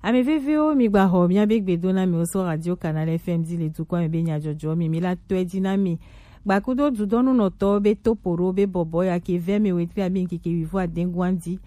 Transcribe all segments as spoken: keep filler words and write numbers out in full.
Ame vevewo, mi gba xɔ miabe gbedo na mi wo so Radio Canal F M di le dukɔ me be nyajɔjɔ mi mi la tɔe di na mi. Gbakudo dudɔnunɔtɔ be topo ɖo be bɔbɔ ya ke vɛ me wetri abi nkeke wivo adengwan di.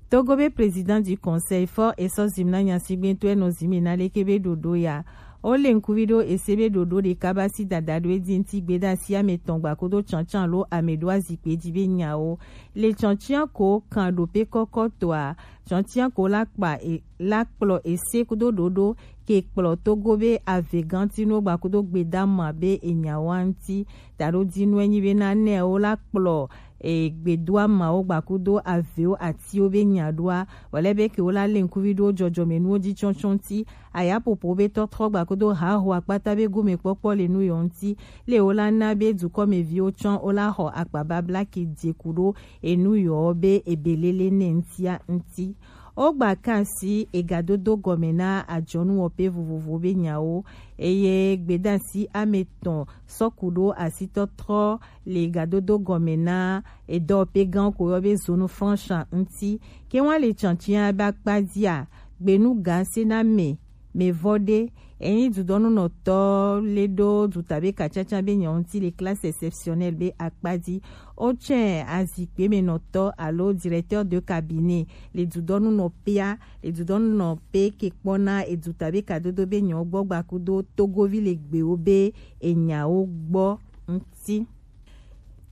Togo be président du conseil fɔ esɔ zim na nyasigbe to enɔ zim na leke be ɖoɖo ya. O le nkuvi ɖo ese be ɖoɖo ɖeka ba si dada ɖo edi ŋti gbeda si ame tɔn gbakudo tsantsan lo ame ɖo azikpe di be nyawo. Le tsantsan ko kan ɖo pe kɔkɔ toa, tsantsan ko la kpa e la kplɔ ese kudo ɖoɖo ke kplɔ Togo be avegantinu gbakudo gbedama be enyawo ŋti. Taɖo dinu enyi be na nɛ wo la kplɔ e gbedoamawo gbakudo avewo atiwo be nya ɖoa, wòle be ke wo la le ŋkuvi ɖo jɔjɔmenuwo ji tsɔtsɔ ŋti. Ayapopo be tɔtrɔ gbakudo haho akpata be gomekpɔkpɔ le nu yɔ ŋti. Le wo la na be dukɔmeviwo tsɔ wo la xɔ akpababla ke dze ku ɖo enu yɔ be ebelele ne ŋtia ŋti. Wogba kan si egadodo gɔme na ajɔnuwɔƒe vovovowo be nyawo, eye gbedasi ame etɔn sɔ ku ɖo asitɔtrɔ le gadodo gɔme na edɔwɔƒe gã ko yɔ be zone franche ŋti. Ke wan le tsantsia be akpa dzia, gbenu ga se na me me vɔ ɖe. Enyi dudɔnunɔtɔ le ɖo dutabe katsatsa be nyawo ŋti le classe exceptionnelle be akpa dzi. Wotsɔe azikpe me nɔtɔ alo directeur de cabinet le dudɔnunɔƒea, le dudɔnunɔƒe ke kpɔna edutabe kadodo be nyawo gbɔ gbakudo togovi le gbewo be enyawo gbɔ ŋti.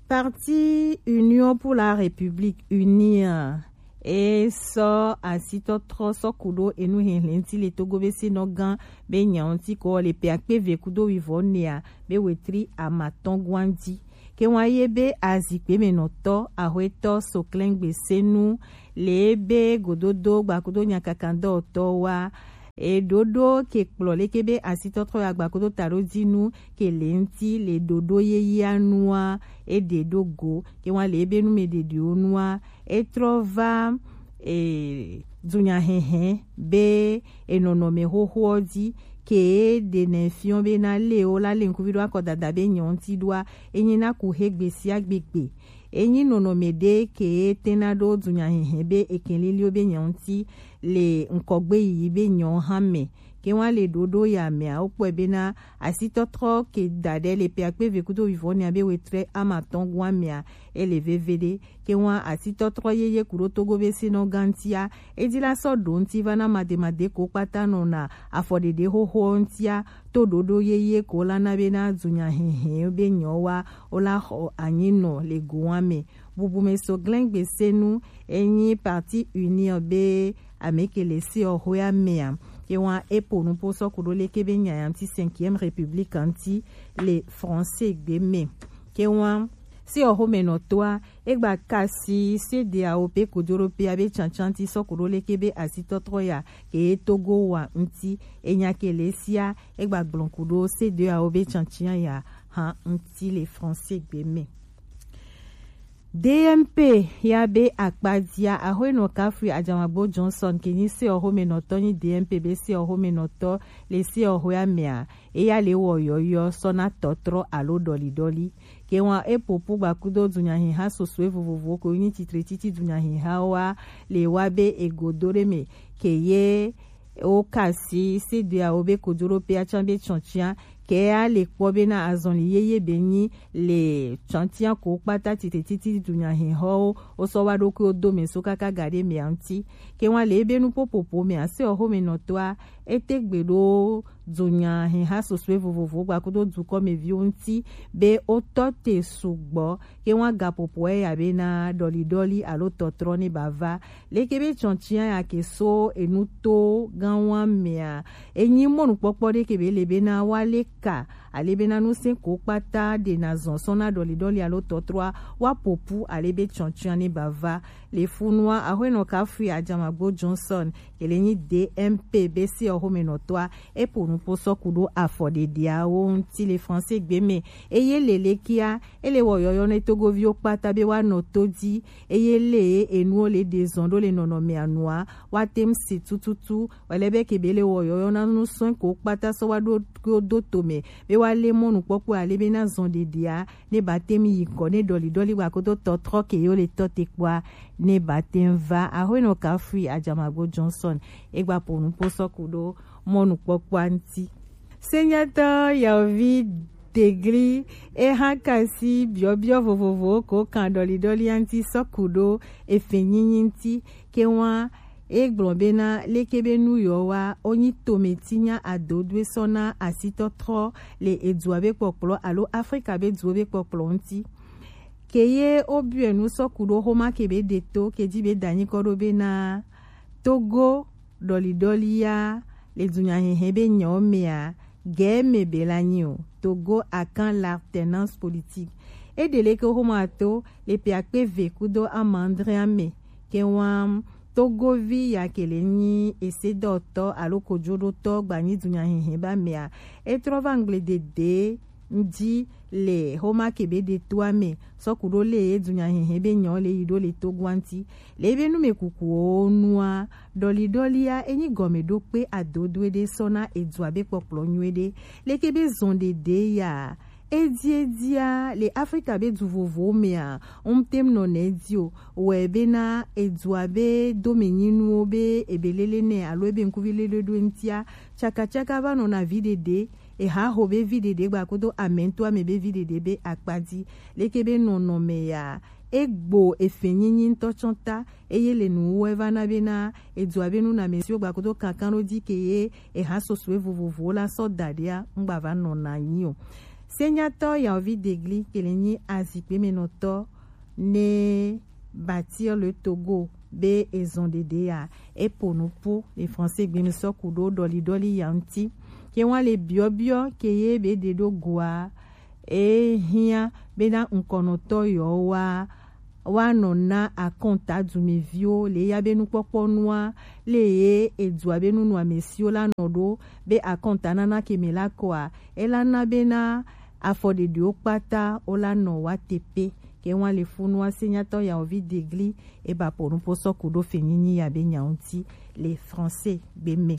Parti Union pour la République, UNIR, e sɔ asitɔtrɔ sɔ ku ɖo enu hehlẽ ŋti le Togo be senɔ gã be nyawo ŋti ko le pe akpe eve kudo wivɔ nɛa be wetri amatɔn gwan dzi. Ke wan ye be azikpe me nɔtɔ ahwetɔ Soklɛngbe Senu le be gododo gbakudo nyakakandɔtɔ wa eɖoɖo ke kplɔ leke be asitɔtrɔ ya gbakudo taɖo dinu ke le ŋti le ɖoɖo yeyea nua eɖe ɖo go. Ke wan le ebe nu me ɖeɖewo nua etrɔ va e, dunyahehe be enɔnɔme xoxoɔ dzi ke ɖe ne fiɔ be na le wo la le ŋkuvi ɖo akɔdada be nyɔ ŋti ɖoa, enyi na ku he gbe sia gbegbe. Enyi nɔnɔme ɖe ke tena ɖo dunyahehe be ekeliliwo be nyɔ ŋti le ŋkɔgbe yiyi be nyɔ hã me. Ke wan le ɖoɖo ya mea, wokpɔe bena asitɔtrɔ ke da ɖe le pe akpe eve kudo wivɔ nɛa be wetrɛ amatɔn gua mea, ele veve ɖe. Ke wan asitɔtrɔ yeye ku ɖo Togo be senɔ gã ŋtia, edi la sɔ ɖo ŋti va na mademade ko kpata nɔna afɔɖeɖe xoxo ŋtia, to ɖoɖo yeye ko la na bena dunyahehe be nyɔ wa wo la xɔ anyi nɔ le go wan me. Bubume so glɛngbe senu enyi Parti Unir be ame ke le seɔxoea mea, ke wan epo nupo sɔ ku ɖo leke be nyaya ŋti cinquième république ŋti le français gbe me. Ke wan seɔxomenɔtɔa egba kasi sedeawo pe kojoɖoƒea be tsantsan ŋti sɔ ku ɖo leke be asitɔtrɔ ya ke ye Togo wa ŋti. Enya ke le sia egba gblɔ ku ɖo sedeawo be tsantsan ya hã ŋti le français gbe me. D M P ya be akpadzia, Axoenɔ Kafui Ajamagbo Johnson ke nyi seɔxomenɔtɔ nyi D M P be seɔxomenɔtɔ le seɔxoea mea, eya le wɔ yɔyɔ sɔ na tɔtrɔ alo ɖɔliɖɔli. Ke wan epopo gbakudo dunyahiha sosɔe vovovowo ko nyi titre titi dunyahiha wa le wa be egodo ɖe me ke ye wo kasi sedeawo be kojoɖoƒea tsan be tsɔtsia ke a le kpɔ bena azɔli yeye be nyi le tsɔtsia ko kpata tite titi dunyahehɔwo wo sɔ wa ɖokuiwo do me so kaka ga ɖe mea ŋti. Ke wan le ebe nuƒoƒoƒo mea, seɔxomenɔtɔa ete gbe ɖo dunyahiha sosɔe vovovowo gbakudo dukɔmeviwo ŋti be wo tɔ te sugbɔ. Ke wan gaƒoƒoa ya bena ɖɔliɖɔli alo tɔtrɔ ne ba va. Leke be tsɔtsia ya ke so enuto gã wa mea, enyi mɔnukpɔkpɔ ɖe ke be le bena wa le ka ale bena nusẽ ko kpata ɖe na zɔn sɔ na ɖɔliɖɔli alo tɔtrɔa wa popu ale be tsɔtsia ne ba va. Le funua, Axoenɔ Kafui Ajamagbo Johnson ke le nyi D M P be seɔxomenɔtɔa epo nupo sɔ ku ɖo afɔɖeɖeawo ŋti le français gbe me. Eye le lekea, ele wɔ yɔyɔ ne togoviwo kpata be wa nɔ to di. Eye le enuwo le ɖe zɔn ɖo le nɔnɔmea nua, wa tem si tututu. Wale be ke be le wɔ yɔyɔ na nusɔn ko kpata sɔ wa ɖo do to me be wa le mɔnukpɔkpɔ ale be na zɔn ɖeɖea ne ba te mi yi kɔ ne dɔli dɔli wa kodo tɔtrɔ ke yo le tɔ te kpɔa ne ba te va. Ahoe no kafui Ajamago Johnson egba ponu po sɔku do mɔnukpɔkpɔ anti. Senyatɔ Yaovi Degli eha kasi biɔbiɔ vovovowo ko kan dɔli dɔli anti sɔku do efe nyinyi nti ke wa egblɔ bena leke be nu yɔ wa onyi tome tinya adodwe sɔna asitɔtrɔ le edua be kpɔkplɔ alo Afrika be duwo be kpɔkplɔ nti. Ke ye obiɔe nu sɔku do homa ke be de to ke ji be danyi kɔ do bena Togo dɔli dɔli ya le dunya hehe be nyawo mea gɛ me be la nyi o. Togo akan l'alternance politique. E de leke homa to le pe akpe ve kudo amandre ame ke wa Togovi ya ke le nyi esedɔtɔ alo kojoɖotɔ gba nyi dunya hehe ba mea. E trɔ va ngble dede nji le homa ke be de to ame sɔku do le ye dunya hehe be nyɔ le yi do le Togo anti. Le be nu me kuku o nua dɔli dɔli ya enyi gɔme do kpe adodo ede sɔna edua be kpɔkplɔ nyuie de. Leke be zɔn de de ya. Edi edia le Afrika be du vovo mea um tem nɔ ne di o. Wɛ be na edua be do me nyi nuwo be ebe lele ne alo ebe nkuvi lele do ntia. Tsaka tsaka va nɔ na vi dede. Eha ho be vi dede gba kodo amɛnto ame be vi dede be akpadi. Leke be nɔnɔme ya egbo efe nyinyi ŋutɔ tsɔ ta eye le nuwuwɔ eva na bena edua be nunɔamesiwo gba kodo kankan ɖo di ke ye eha sosue vovovowo la sɔ da ɖia ŋgba va nɔ na nyi o. Senyatɔ Yaovi Degli ke le nyi azikpemenɔtɔ ne Bâtir le Togo be ezɔn ɖeɖe ya epo nupo le français gbe mi sɔ ku ɖo ɖɔli ɖɔli ya ŋuti. Ke wa le biɔbiɔ ke ye be ɖe ɖo goa e hiã bena ŋkɔnɔtɔ yɔ wa wa nɔ na akɔnta dumeviwo le ya be nukpɔkpɔ nua le ye edua be nunɔamesiwo la nɔ ɖo be akɔnta nana ke me la kɔa e la na bena afɔ ɖeɖewo kpata wo la nɔ wa tepe. Ke wa le funu wa senyatɔ Yaovi Degli e ba po nupo sɔ ku ɖo fe nyinyi ya be nya ŋuti le français gbe me.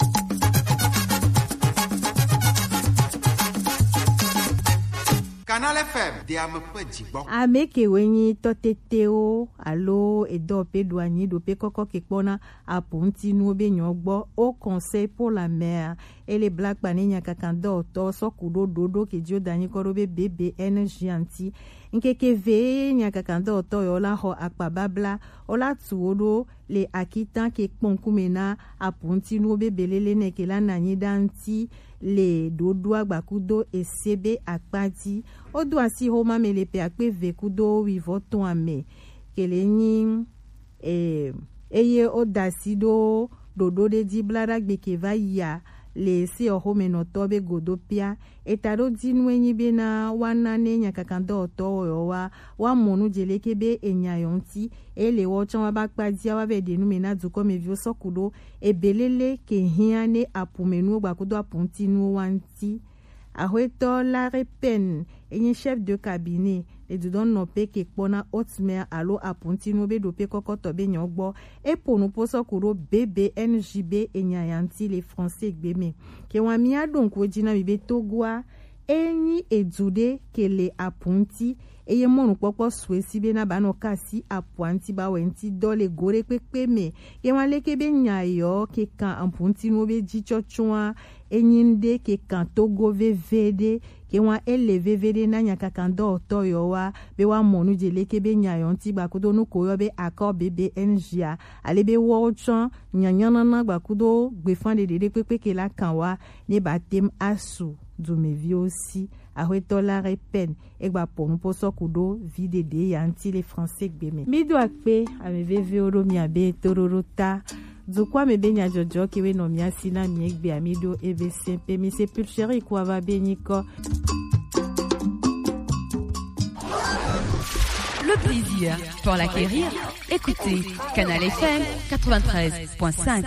Canal F M de ame ƒe dzigbɔ. Ame kewoe nyi tɔtetewo alo edɔ pe ɖo anyi ɖo pe kɔkɔ ke kpɔna apu ŋuti nuwo be nyɔ gbɔ. Au Conseil pour la mer, ele bla kpa ne nyakakandɔtɔ sɔ ku ɖo ɖoɖo ke dio da nyikɔ ɖo be B B N G anti. Ŋkeke ve nyakakandɔtɔ yɔ la xɔ akpa babla, o la tu wo ɖo le akitan ke kpɔn kume na apu ŋuti nuwo be belele ne ke la nanyi ɖa ŋuti le ɖoɖoa gbakudo ese be akpa dzi. O do asi xoma me le pe akpe ve kudo wivɔ tɔn ame ke le nyi e, eye woda asi ɖo ɖoɖo ɖe dzi bla ɖagbe ke va yia le seyɔxomenɔtɔ be godo pia. Eta ɖo dinu enyi bena woana ne nyakakandɔwɔtɔwo yɔ wa woamɔ nu dze leke be enya yɔ ŋuti eye le wɔ tsã wa ba kpa dzia wa vɛ ɖe nu me na dukɔmeviwo sɔ ku ɖo ebelele ke hiã ne apumenuwo gbakudo apu ŋuti nuwo wa ŋuti. Axwetɔ Larry Pen enyi chef de cabinet le dudɔnnɔpe ke kpɔna haute mer alo apuntinu be ɖope kɔkɔtɔ be nyɔ gbɔ. Epo nupo sɔ ku ɖo B B N G be enya ya ŋuti le français gbe me. Ke wa mia ɖo ŋku edzi na mi be Togoa enyi edu ɖe ke le apunti eye mɔnukpɔkpɔ sue si be na ba nɔ kasi apua ŋuti ba wɛ ŋuti dɔ le go ɖe kpekpe me. Ke wa leke be nya yɔ ke kan apuntinuwo be dzi tsɔtsɔa enyi ŋɖe ke kan Togo veve ɖe, ke wa ele veve ɖe na nyakakandɔwɔtɔ yɔ wa be wa mɔ nu dze leke be nya yɔ ŋuti gbakudo nu ko yɔ be akɔ B B N G a, ale be wɔwo tsɔ nyanyanana gbakudo gbefan ɖeɖe ɖe kpekpe ke la kan wa ne ba tem asu dumeviwo si. Axwetɔ Larry Pen egba po nupo sɔ ku ɖo vi ɖeɖe ya ŋuti le français gbe me. Mi do akpe ame vevewo ɖo mia be toɖoɖo ta. Dukɔa me be nyadzɔdzɔ kewe nɔ mia si na mi egbe ami ɖo ebe se pe mi se pulchérie ku ava be nyikɔ. Le plaisir pour l'acquérir. Écoutez Canal F M quatre-vingt-treize point cinq.